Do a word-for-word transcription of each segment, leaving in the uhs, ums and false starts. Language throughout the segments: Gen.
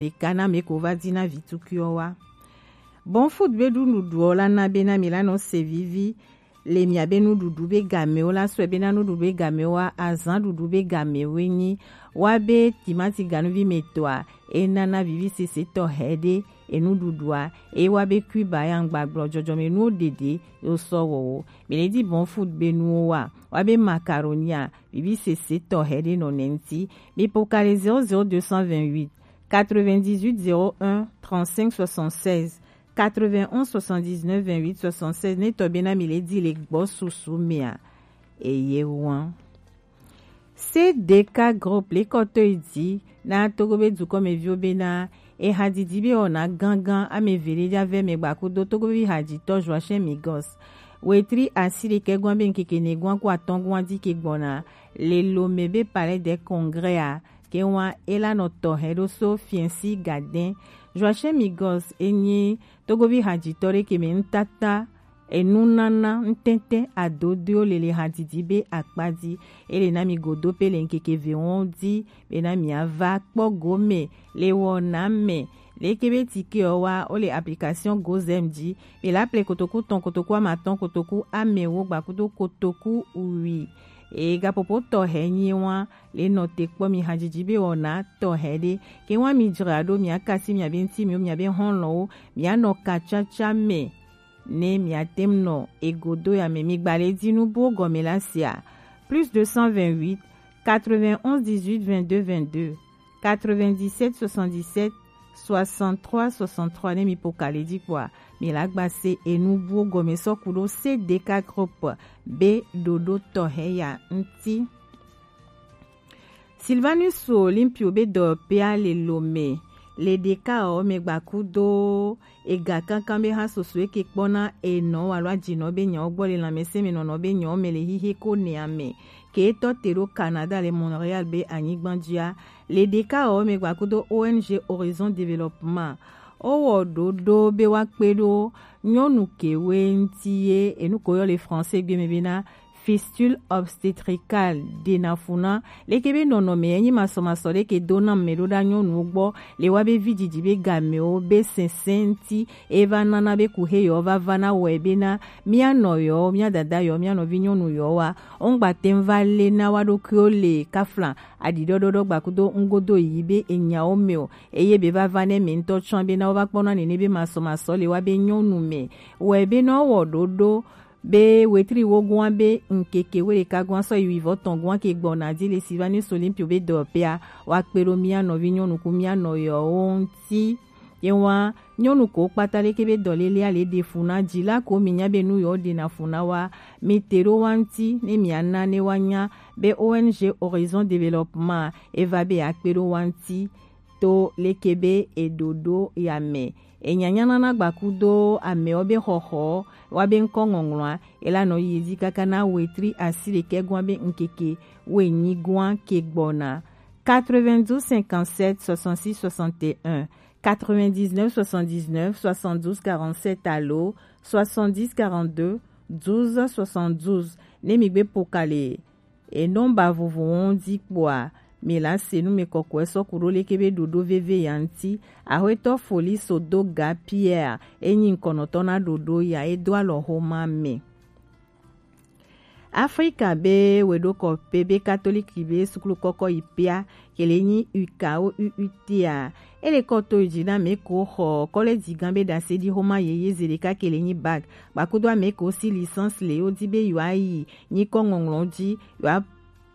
ɖeka na mɛ ko va di na vi tukui ɔ wa. Bon food be ɖu nuɖuɖu ɔ la na be na mi la nɔ se vivi le mia be nuɖuɖu be game ɔ la sɔe be na nuɖuɖu be game ɔ wa azan ɖuɖu be game ɔ nyi wa be timati ganuvi mɛ tɔa e na na vivi sese tɔ hɛ ɖe e nuɖuɖua e wa be kui ba ya ŋgba gblɔ jɔjɔmɛ nuwo ɖeɖe yo sɔ wɔwo. Mi le di bon food be nuwo wa wa be macaroni a vivi sese tɔ hɛ ɖe nɔ nɛ ŋti. Mi po ka le zéro zéro deux cent vingt-huit quatre-vingt-dix-huit zéro un trente-cinq soixante-seize quatre-vingt-onze soixante-dix-neuf vingt-huit soixante-seize ne tɔ be na mi le di le gbɔ susu mɛ a. Eye wan. C D K Group le kɔtɔ yi di na Togo be dukɔmɛviwo be na e hadidi be wɔna gangan ame ve le ja vɛ mɛ gba kudo Togovi haditɔ Joachim Migos. Wetri asi ɖekɛ gwan be ŋkeke ne gwan ku atɔn gwan di ke gbɔna le Lomé be Palais des Congrès a ke wan e la nɔ tɔ hɛ ɖo so fiɛnsi gadɛn. Joachim Migos e nyi Togovi haditɔ ɖe ke mɛ ŋtata enunana ŋtɛntɛ adodoewo le le hadidi be akpa di. E le na mi godo pe le ŋkeke ve wɔn di be na mi ava kpɔ gome le wɔna mɛ. Leke be tike ɔ wa o le application Gozem di. Mi la ple kotoku tɔn kotoku amatɔn kotoku amɛwo gba kudo kotoku wi. E gapopo tɔ hɛ nyi wan le nɔ te kpɔ mi hadidi be wɔna tɔ hɛ ɖe ke wan mi dzra ɖo mi akasi mi abe ŋti mi mi abe hɔn lɔ wo mi anɔ ka caca mɛ. Ne mi ate ŋu nɔ egodo ya mɛ mi gba le di nu buwo gɔme la sia plus deux cent vingt-huit quatre-vingt-onze dix-huit vingt-deux vingt-deux quatre-vingt-dix-sept soixante-dix-sept soixante-trois soixante-trois ne mi po ka le di kpɔa mi la gba se enu buwo gɔme sɔ ku ɖo C D K Group be ɖoɖo tɔ hɛ ya ŋti. Sylvanus Olympio be dɔyɔkpea le Lomé le ɖeka ɔ mɛ gba kudo ega kankan be ha soso eke kpɔna enɔ alo ajinɔ be nyawo gbɔ le lanmɛsɛn mɛ nɔnɔ be nyawo mɛ le hihe ko nɛa mɛ ke tɔ te ɖo Canada le Montréal be anyigban jia le ɖeka ɔ mɛ gba kudo O N G Horizon Développement. O wɔ ɖoɖo be wa kpe ɖo nyɔnu kewe ŋti ye enu ko yɔ le français gbe mɛ be na fistule obstétricale ɖena funa leke be nɔnɔmɛ enyi masɔmasɔ ɖe ke do na mɛ ɖo ɖa nyɔnuwo gbɔ le wa be vi didi be gamewo be sɛnsɛn ŋti e va nana be ku he yɔ va va na wɛ be na mia nɔ yɔ mia dada yɔ mia nɔvi nyɔnu yɔ wa ŋgba te va le na wa ɖokuiwo le kafla aɖiɖɔɖɔɖɔ gba kudo ŋgodo yi be enyawo mɛ o eye be va va ne mɛ ŋtɔ tsɔ be na wo va kpɔ na nene be masɔmasɔ le wa be nyɔnu mɛ wɛ be na wɔ ɖoɖo be wetri wo gua be ŋkeke we ɖeka gua sɔ yi wivɔ tɔn gua ke gbɔna di le Sylvanus Olympio be dɔyɔkpea wa kpe ɖo mia nɔvi nyɔnu ku mia nɔyɔwo ŋti. Ye wa nyɔnu ko kpata leke be dɔlele ale ɖe fu na dzi la ko mi nya be nu yɔ ɖena fu na wa mi te ɖo wa ŋti ne mia na ne wa nya be O N G Horizon Développement e va be akpe ɖo wa ŋti to leke be e ɖo ɖo ya mɛ. Enyanya nana gba kudo amɛwo be xɔxɔ wa be ŋkɔ ŋɔŋlɔa ela nɔ yi edzi kaka na wetri asi ɖekɛ gɔa be ŋkeke wenyi gɔa ke gbɔna quatre-vingt-douze cinquante-sept soixante-six soixante et un, quatre-vingt-dix-neuf soixante-dix-neuf soixante-douze quarante-sept alo soixante-dix quarante-deux douze soixante-douze ne mi gbe po ka le enɔmba vovovowo ŋdi kpoa mi la se nu mi kɔkɔe sɔ ku ɖo leke be ɖoɖo veve ya ŋti. Axwetɔ Foli Sodoga Pierre e nyi ŋkɔnɔtɔ na ɖoɖo ya e do alɔ xoma mɛ. Afrika be weɖokɔpe be katoliki be suklu kɔkɔ yi pia ke le nyi U K O U U T a. E le kɔ to yi dzi na mɛ ko xɔ kɔlɛji gan be ɖase ɖi xoma yeye ze ɖeka ke le nyi bac gbakudo amɛ ko si licence le wo di be yewoa yi nyikɔ ŋɔŋlɔ ji yewoa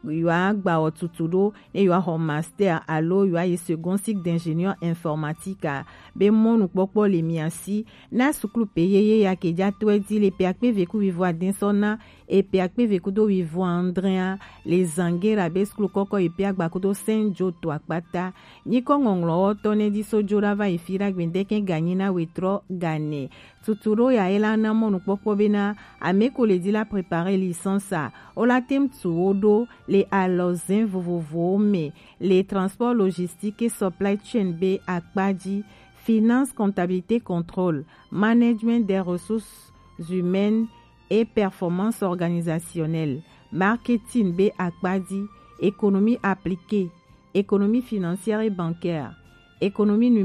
yewoa gba wɔ tutu ɖo ne yewoa xɔ master alo yewoa yi second cycle d'ingénieur informatique a. Be mɔnukpɔkpɔ le mia si na suklu pe yeye ya ke ja tɔɛ di le pe akpe ve ku wivo adin sɔ na e pe akpe ve kudo wivo andre a le Zangera be suklu kɔkɔ yi pe agba kudo Saint Joe to akpata. Nyikɔ ŋɔŋlɔ wɔtɔ ne di so jo ɖa va yi fi ɖa gbendeke ganyi na wetrɔ gane. Tutu ɖo ya e la na mɔnukpɔkpɔ be na amɛ ko le di la préparer licence a, wo la tem tu wo ɖo le alɔzɛn vovovowo mɛ, le transport logistique et supply chain be akpa ji, finance, comptabilité, contrôle, management des ressources humaines et performance organisationnelle, marketing be akpa ji, économie appliquée, économie financière et bancaire, Économie